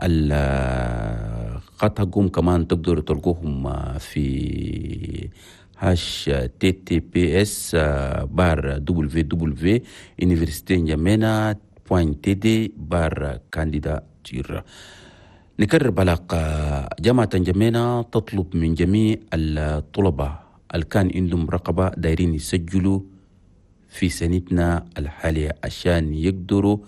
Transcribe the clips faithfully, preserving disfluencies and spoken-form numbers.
الخط حقهم كمان تقدروا تلقوهم في H T T P S barre W W université N'Djamena point T D barre candidature. نكرر بلاغ جامعة انجمينا تطلب من جميع الطلبة اللي كان عندهم رقبة دايرين يسجلوا في سنتنا الحالية عشان يقدروا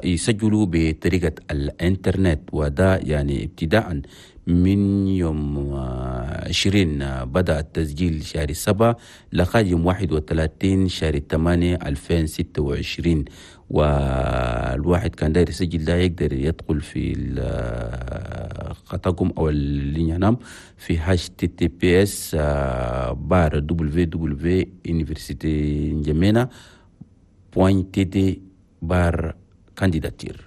يسجلوا بطريقة الانترنت، وده يعني ابتداء من يوم عشرين بدأ التسجيل شهر سبعة لغاية يوم واحد وثلاثين شهر ثمانية ألفين ستة وعشرين. والواحد كان داير يسجل ده يقدر يدخل في خطاكم أو اللي ينام في H T T P S barre W W université N'Djamena point T D barre candidature.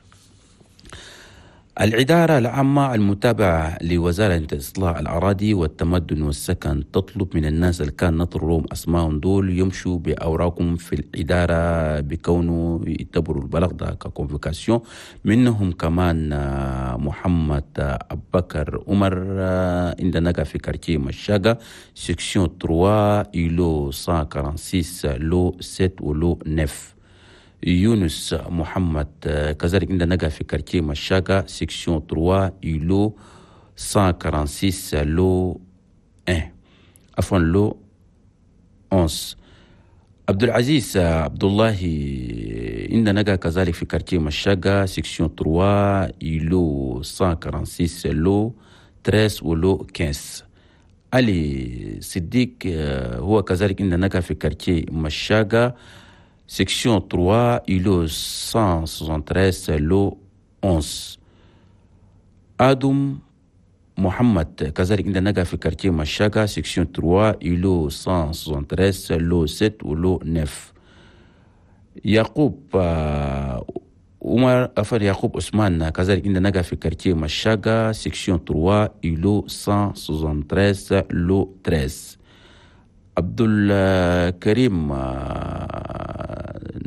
الإدارة العامة المتابعة لوزارة إصلاح الأراضي والتمدن والسكن تطلب من الناس اللي كان نطرهم أسمائهم دول يمشوا بأوراقهم في الإدارة بكونه يعتبروا البلغ ده ك convocation. منهم كمان محمد أبو بكر عمر عندنا في quartier مشاقة section ثلاثة îlot مية وستة وأربعين lot سبعة و lot تسعة. يونس محمد كذلك عندنا نجا في quartier مشاقة section ثلاثة îlot مية وستة وأربعين lot واحد عفوا lot أحد عشر. عبد العزيز عبد الله عندنا نجا كذلك في quartier مشاقة section ثلاثة îlot مية وستة وأربعين lot ثلاثة و lot خمسة عشر. علي صديق هو كذلك عندنا نجا في quartier مشاقة section ثلاثة îlot مية تلاتة وستين lot أحد عشر. آدم محمد كذلك عندنا نجا في quartier مشاقة section ثلاثة îlot مية تلاتة وستين lot سبعة و lot تسعة. يعقوب عمر أفر يعقوب عثمان كذلك عندنا نجا في quartier مشاقة section ثلاثة îlot مية تلاتة وستين lot ثلاثة. عبد الكريم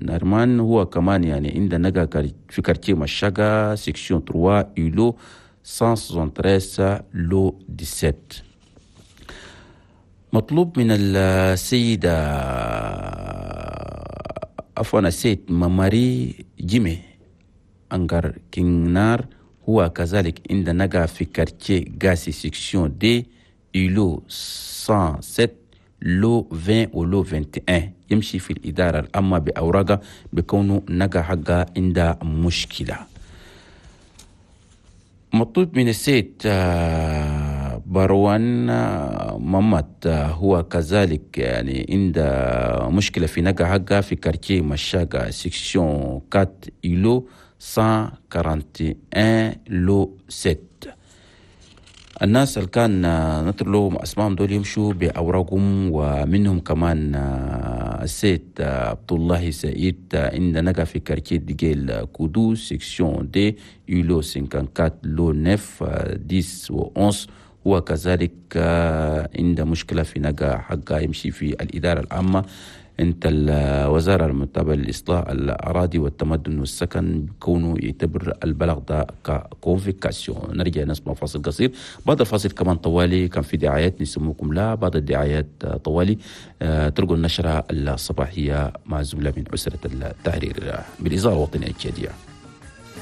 نرمان هو كمان يعني عندنا نجا في quartier مشاقة section ثلاثة îlot مية تلاتة وستين lot سبعة عشر. مطلوب من السيدة عفوا السيد ماماري جيمي أنغار كينار هو كذلك عندنا نجا في quartier غاسي section deux îlot مية وسبعة lot عشرين و lot واحد وعشرين يمشي في الإدارة العامة بأوراقه بكونه نجا حقه عند مشكلة. مطلوب من السيد بروان مامات هو كذلك يعني عند مشكلة في نجا حقه في quartier مشاقة section أربعة îlot مية وواحد وأربعين lot ستة. الناس اللي كان نطر لهم اسمائهم دول يمشوا باوراقهم، ومنهم كمان السيد عبد الله سعيد عند نجا في quartier ديجيل كودو section deux îlot أربعة وخمسين lot تسعة عشرة و أحد عشر هو كذلك عند مشكلة في نجا حقه يمشي في الإدارة العامة انت الوزارة المتابعة للإصلاح الأراضي والتمدن والسكن كونه يعتبر البلغ ده ك convocation. نرجع نسمع فاصل قصير، بعد الفاصل كمان طوالي كان في دعايات نسموكم لا بعد الدعايات طوالي تلقوا النشرة الصباحية مع زملاء من أسرة التحرير بالإذاعة الوطنية التشادية.